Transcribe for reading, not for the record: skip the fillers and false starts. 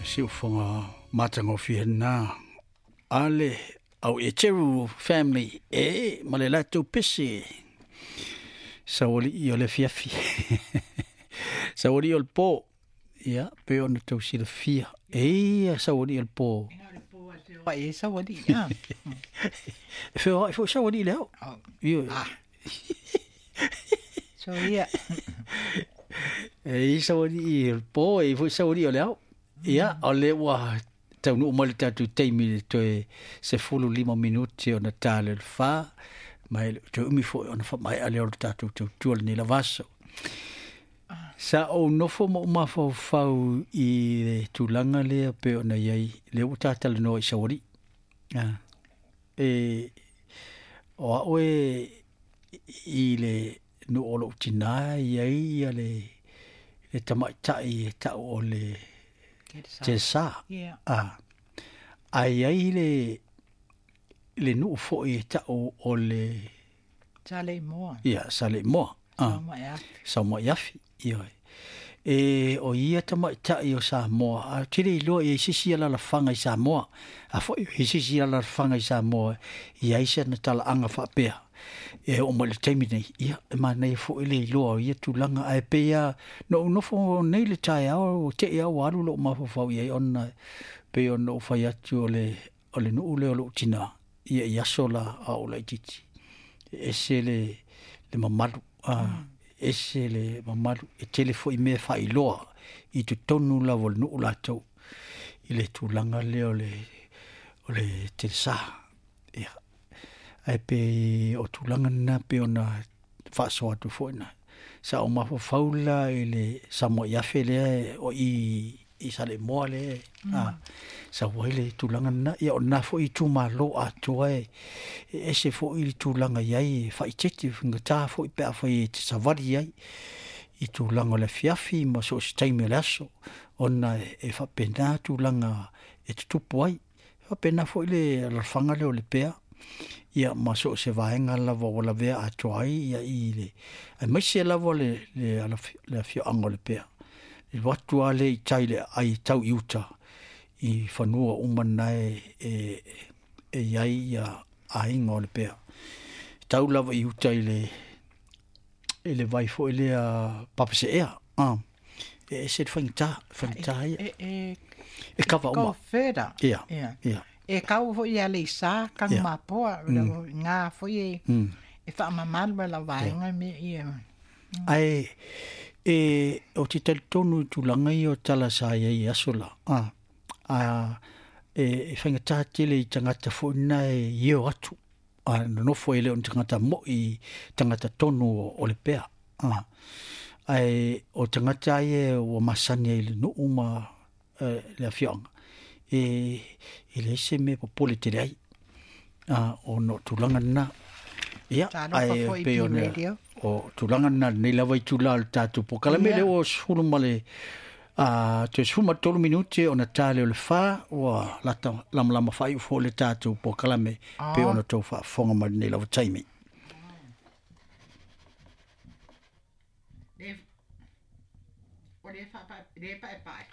Siufoga matagofie lena a le au Eteru family e ma le latou pese saualii o le afiafi saualii o le po ia pe ona tau silafia e ia saualii o le po e saualii a e feoai foi saualii le ao ioe so ia e i saualii o le po e foi saualii o le ao ia o le ua taunuu mai le tatou taimi le toe 15 minute ona ta le 4 ma e toe umi foi ona faamaea lea o le tatou tautua lenei lava aso. Sa ou nofo ma ou mafaufau i le tulaga lea pei ona i ai lea ua tatalanoa i saualii. E o au e i le nuu o lou tinā e i ai ia le le tamaitai e tau o le Telesa. A ae i ai le le nuu foi e tau o le Saleimoa. Ia, Saleimoa. Saumaiafi. Saumaiafi, ioe. E o ia tamaitai o Samoa, a ou te le iloa i ai se isi alalafaga i Samoa. A foi o i ai se isi alalafaga i Samoa e i ai sana talaaga faapea e oo mai i le taimi nei, ia, e manaia foi le iloa o ia tulaga. Ae pei lava na ou nofo nei i le taeao ua te i lava ua alu lou mafaufau i ai ona pei ona ou fai atu o le, o le nuu lea o lou tinā, ia i aso la a o laitiiti, e ese le, le mamalu, a, ese le mamalu, e tele foi mea e faailoa i totonu lava o le nuu latou i le tulaga lea o le, o le telesa. Ia, ae pei o tulaga na pei ona faasoa atu foi na. Sa ou mafaufau la i le Samoaiafe lea o i i Saleimoa lea a sau ai le tulaga lena. Ia o lena foi itumalo atoa e ese foi le tulaga i ai e faaeteete faigata foi pe afai e te savali ai i tulaga o le afiafi ma so o se taimi o le aso ona e faapena tulaga e tutupu ai. E faapena foi le alafaga lea o Lepea ia ma so o se vaega lava ua lavea atoa ai ia i le aemaise lava le le le afioaga o Lepea. E alu atu lava lea i tai i le aai e tau i uta i fanua uma na e e e i ai ia aiga o Lepea. E tau lava i uta i le i le vai foi lea Papaseea, e ese le faigata, faigata ia. E, e, e kava uma. Go further. Ia, yeah. ia. E kau foi ia Leisa, kang yeah. mapoa, ngā foi e, e whaamamalu la vaenga me ia. Ae, e, o te talitonu i tulaga ia o tala sa i ai i aso la, a, a, e, e faigata tele i tagata foi na e io atu, a nonofo e le o ni tagata mo'i, tagata tonu o, o Lepea. A, ae o tagata ia ua masani ai i le nuu ma e, le afioaga, e, e leai se mea e popole tele ai. A, ona o tulaga lena. Ia, ae pei ona o tulaga lena lenei lava itula o le tatou polokalame lea ua 10 ma le a toe 13 minute ona ta lea o le 4 ua lata lamalama faaiu foi le tatou polokalame pei ona outou faafofoga mai lenei lava taimi. Le, o le, wha, le pae pae.